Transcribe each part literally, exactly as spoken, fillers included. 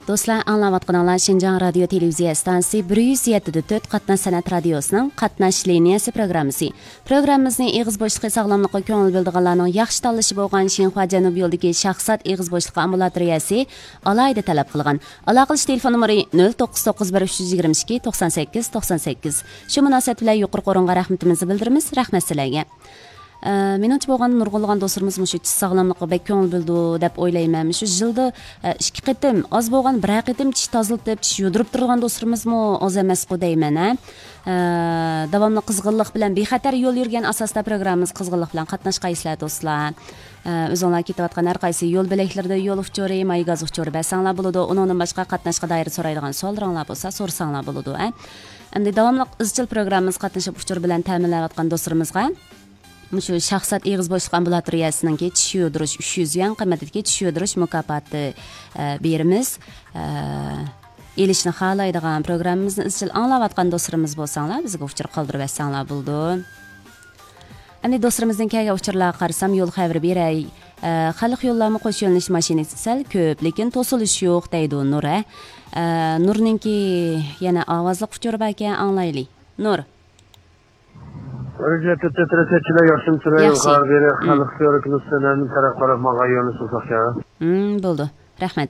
دوستلار، ئاڭلاۋاتقىنىڭلار شىنجاڭ رادىيو تېلېۋىزىيە ئىستانسىسى بىر يۈز يەتتە دە تۆت قاتناش سەنئەت رادىيوسىنىڭ قاتناش لىنىيەسى پروگراممىسى. پروگراممىمىزنى ئېغىز بوشلۇقى ساغلاملىققا كۆڭۈل بۆلىدىغانلارنىڭ ياخشى تاللىشى بولغان شىنخۇا جەنۇبىي يولىدىكى شاخسات ئېغىز بوشلۇقى ئامبۇلاتورىيەسى ئالاھىدە تەلەپ قىلغان. ئالاقىلىشىش تېلېفون نومۇرى نۆل توققۇز توققۇز بىر ئۈچ يۈز يىگىرمە ئىككى توقسان سەككىز توقسان سەككىز. شۇ مۇناسىۋەت بىلەن يۇقىرىقى ئورۇنغا رەھمىتىمىزنى بىلدۈرىمىز. رەھمەت سىلەرگە. ئە، مېنىڭچە بولغاندا نۇرغۇنلىغان دوستلىرىمىز مۇشۇ چىش ساغلاملىقىغا بەك كۆڭۈل بۆلىدۇ دەپ ئويلايمەن. مۇشۇ يىلدا، ئە، ئىككى قېتىم، ئاز بولغان بىرەر قېتىم چىش تازىلىتىپ، چىش يۇدۇرۇپ تۇرىدىغان دوستلىرىمىزمۇ ئاز ئەمەسقۇ دەيمەن، ھە. ئە، داۋاملىق قىزغىنلىق بىلەن بىخەتەر يول يۈرگەن ئاساستا پروگراممىمىزغا قىزغىنلىق بىلەن قاتناشقايسىلەر دوستلار. ئە، ئۆزۈڭلار كېتىۋاتقان ھەر قايسى يول بۆلەكلىرىدە يول ئۇچۇرى، مايگاز ئۇچۇرى بەرسەڭلار بولىدۇ. ئۇنىڭدىن باشقا قاتناشقا دائىر سورايدىغان سوئاللىرىڭلار بولسا سورىساڭلار بولىدۇ، ھە. ئەمدى داۋاملىق ئىزچىل پروگراممىمىزغا قاتنىشىپ ئۇچۇر بىلەن تەمىنلەۋاتقان دوستلىرىمىزغا مۇشۇ شاخسات ئېغىز بوشلۇق ئامبۇلاتورىيەسىنىڭكى چىش يۇدۇرۇش ئۈچ يۈز يۈەن قىممىتىدىكى چىش يۇدۇرۇش مۇكاپاتى، ئە، بېرىمىز. ئە، ئېلىشنى خالايدىغان، پروگراممىمىزنى ئىزچىل ئاڭلاۋاتقان دوستلىرىمىز بولساڭلار، بىزگە ئۇچۇر قالدۇرۇۋەتسەڭلار بولىدۇ. ئەمدى دوستلىرىمىزدىن كەلگەن ئۇچۇرلارغا قارىسام، يول خەۋىرى بېرەي. ئە، خەلق يوللارمۇ قوش يۆنىلىش ماشىنىسى سەل كۆپ، لېكىن توسۇلۇش يوق، دەيدۇ نۇر، ھە. ئە، نۇرنىڭكى يەنە ئاۋازلىق ئۇچۇرى باركەن، ئاڭلايلى. نۇر. بىر يۈز يەتتە تۆت تەرەپچىلەر ياخشىمۇسىلەر؟ ياخشى. يۇقىرى بېرى مم. خەلق كۆرۈكلۈك سەنەمنى تەرەپ قاراپ ماڭغان يولنى سوزاقكەن. مم، بولدى. رەھمەت.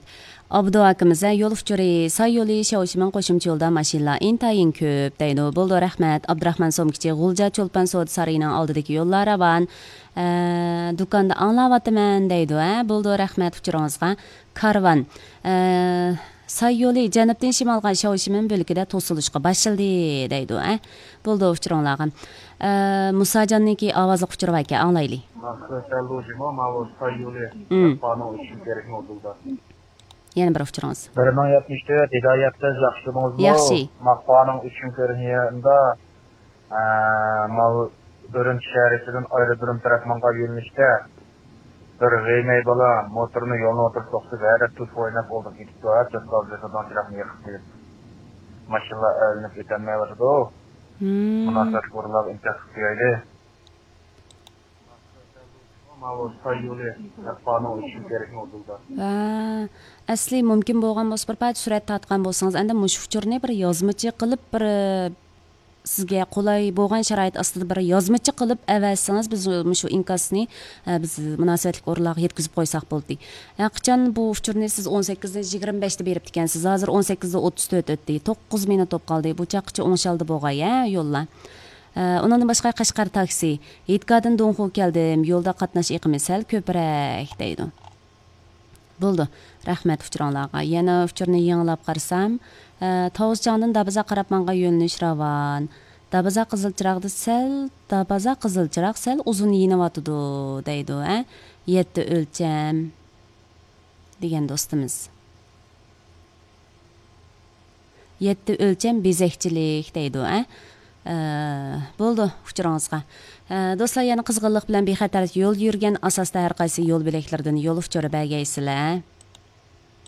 ئابدۇ ئاكىمىز، ھە، يول ئۇچۇرى، ساي يولى، شياۋشىمىن قوشۇمچە يولدا ماشىنىلار ئىنتايىن كۆپ، دەيدۇ. بولدى، رەھمەت. ئابدۇراخمان سومكىچى، غۇلجا چولپان سودا سارىيىنىڭ ئالدىدىكى يوللار راۋان. ئە، دۇكاندا ئاڭلاۋاتىمەن، دەيدۇ، ھە. بولدى، رەھمەت ئۇچۇرىڭىزغا. كارۋان، ئە، ساي يولى جەنۇبتىن شىمالغا شياۋشىمىن بۆلىكىدە توسۇلۇشقا باشلىدى، دەيدۇ، ئە. بولدى، ئۇچۇرۇڭلارغا. ئە، مۇساجاننىڭكى ئاۋازلىق ئۇچۇرى باركەن، ئاڭلايلى. ماقسەت سەلدۇجىمۇ ماۋۇ ساي يولى مم. مەھپانىڭ ئۈچۈن كېرەكمۇ دۇلدا. يەنە بىر ئۇچۇرىڭىز. بىر مىڭ يەتمىش تۆت، ھىدايەت قىز، ياخشىمۇ؟ ياخشى. ماقپانىڭ ئۈچۈن كۆرۈنگەندە، ئە، ماۋۇ ئۈرۈمچى شەھىرىدىن ئايرودروم تەرەپ ماڭغان يۆنىلىشتە بىر غېيمەي بالا موتورنى يولنىڭ ئوتتۇرىسىدا توختىتىپ، ھەدە تۇف ئويناپ ئولتۇرۇپ كېتىپتۇ. ھە، چوتقال بېسىدىن چىراغنى يېقىپ قويۇپ، ماشىنىلار ئەيلىنىپ ئۆتەلمەيۋاتىدۇ. مم. مۇناسىۋەتلىك ئورۇنلارغا ئىنكاس قىلىپ قويايلى. ماۋۇ ساي يولى مەھپانىڭ ئۈچۈن كېرەكمۇ دۇلدا. ھە، ئەسلى مۇمكىن بولغان بولسا، بىر پارچە سۈرەت تارتقان بولسىڭىز، ئەندى مۇشۇ ئۇچۇرنى بىر يازمىچە قىلىپ، بىر، سىزگە قولاي بولغان شارائىت ئاستىدا بىر يازمىچە قىلىپ ئەۋەتسىڭىز، بىز مۇشۇ ئىنكاسنى، ئە، بىز مۇناسىۋەتلىك ئورۇنلارغا يەتكۈزۈپ قويساق بولدى. ھە، قاچان بۇ ئۇچۇرنى سىز ئون سەككىزدىن يىگىرمە بەشتە بېرىپتىكەنسىز، ھازىر ئون سەككىزدە ئوتتۇز تۆت ئۆتتى، توققۇز مىنۇت بولۇپ قالدى. بۇ چاغقىچە ئوڭشالدى بولغاي، ھە، يوللار. ئە، ئۇنىڭدىن باشقا قەشقەر تاكسى، ھېيتگاھتىن دۇڭخۇ كەلدىم، يولدا قاتناش ئېقىمى سەل كۆپرەك، دەيدۇ. بولدى، رەھمەت ئۇچۇرۇڭلارغا. يەنە ئۇچۇرنى يېڭىلاپ قارىسام، ئە، تاۋۇزچاڭدىن دابازا قاراپ ماڭغان يۆنىلىش راۋان. دابازا قىزىل چىراغدا سەل، دابازا قىزىل چىراغ سەل ئۇزۇن يېنىۋاتىدۇ، دەيدۇ، ھە. يەتتە ئۆلچەم دېگەن دوستىمىز. يەتتە ئۆلچەم بېزەكچىلىك دەيدۇ، ئە. ئە، بولدى، ئۇچۇرىڭىزغا. ئە، دوستلار، يەنە قىزغىنلىق بىلەن بىخەتەر يول يۈرگەن ئاساستا ھەر قايسى يول بۆلەكلىرىدىن يول ئۇچۇرى بەرگەيسىلەر.